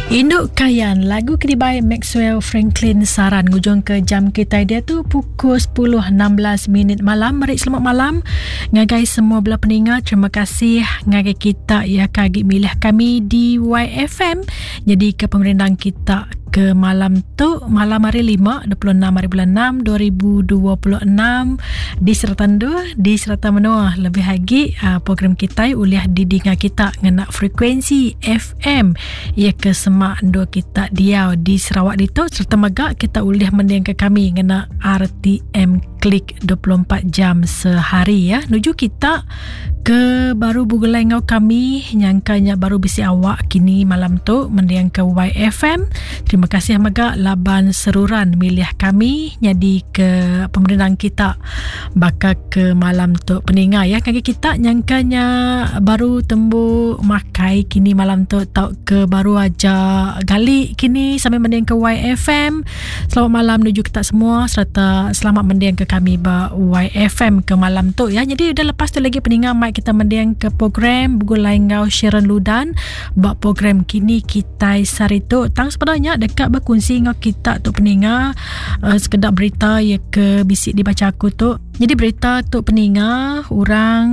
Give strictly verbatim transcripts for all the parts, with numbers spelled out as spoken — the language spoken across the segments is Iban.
Induk Kayan, lagu kedibai Maxwell Franklin Saran ngujung ke jam kita dia tu pukul sepuluh enam belas minit malam. Meri selamat malam ngagai semua bela peninga. Terima kasih ngagai kita ya kagi milih kami di Y F M. Jadi ke pemerindang kita ke malam tu, malam hari lima, dua puluh enam hari bulan enam, dua ribu dua puluh enam di serata dua, di serata menua. Lebih lagi uh, program kita uliah didinga kita ngena frekuensi F M ya ke semak dua kita diau di Sarawak ditu, serta megak kita uliah mending ke kami ngena R T M Klik dua puluh empat jam sehari ya. Nuju kita ke baru bugulai ngau kami nyangkanya baru bisi awak kini malam tu mendiang ke Y F M. Terima kasih megak laban seruran milih kami jadi ke pemerintah kita bakal ke malam tu peninga ya. Kaki kita nyangkanya baru tembu makai kini malam tu tau ke baru aja gali kini sambil mendiang ke Y F M. Selamat malam nuju kita semua serta selamat mendiang ke kami ba Y F M ke malam tu ya. Jadi udah lepas tu lagi peninga mic kita mendiang ke program Begulai Ngau Sharon Ludan ba program kini kita sari tu. Tang sebenarnya dekat berkongsi ngau kita tu peninga uh, sekedar berita ya ke bisik dibaca aku tu. Jadi berita tu peninga orang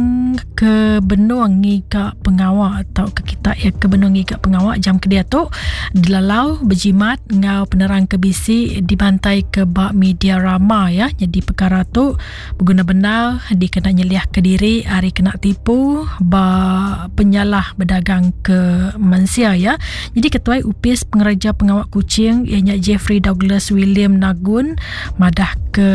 ke benung ngigak pengawak atau ke kita ya ke benung ngigak pengawak jam ke dia tu dilalau berjimat ngau penerang ke bisi dibantai ke bak media rama ya. Jadi perkara tu berguna benar dikena nyeliah ke diri hari kena tipu ba penyalah berdagang ke mensia ya. Jadi ketua U P S pengereja pengawak kucing ianya Jeffrey Douglas William Nagun madah ke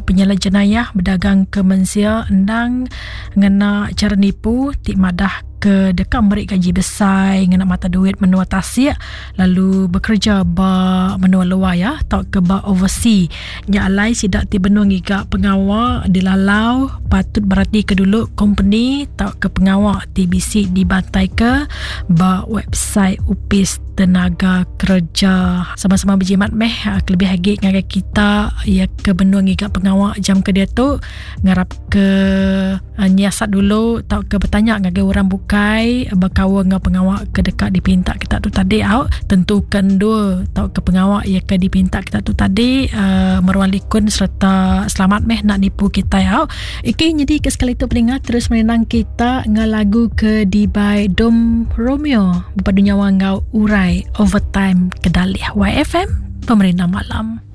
penyalah jenayah berdagang ke mensia endang ngena cara nipu ti madah ke dekat merik gaji besar ngena mata duit menua tasik lalu bekerja ba menua luar ya atau ke ba overseas. Nya alai sidak ti benung ngiga pengawak dilalau patut berarti ke dulu company atau ke pengawak T B C dibantai ke ba website U P S Tenaga Kerja. Sama-sama berjimat meh kelebih lagi ngagai kita ya ke benung ngiga pengawak jam ke dia tu ngarap ke uh, nyiasat dulu atau ke bertanya ngagai orang bukai berkawan dengan pengawak ke dekat dipinta kita tu tadi out tentukan dua atau ke pengawak ya ke dipinta kita tu tadi uh, meruan likun serta selamat meh nak nipu kita out. Okey, jadi ke sekali tu pendengar terus menenang kita dengan lagu ke Dibai Dom Romeo berpadu nyawa ngau Urai Overtime Kedalih Y F M Pemerintah Malam.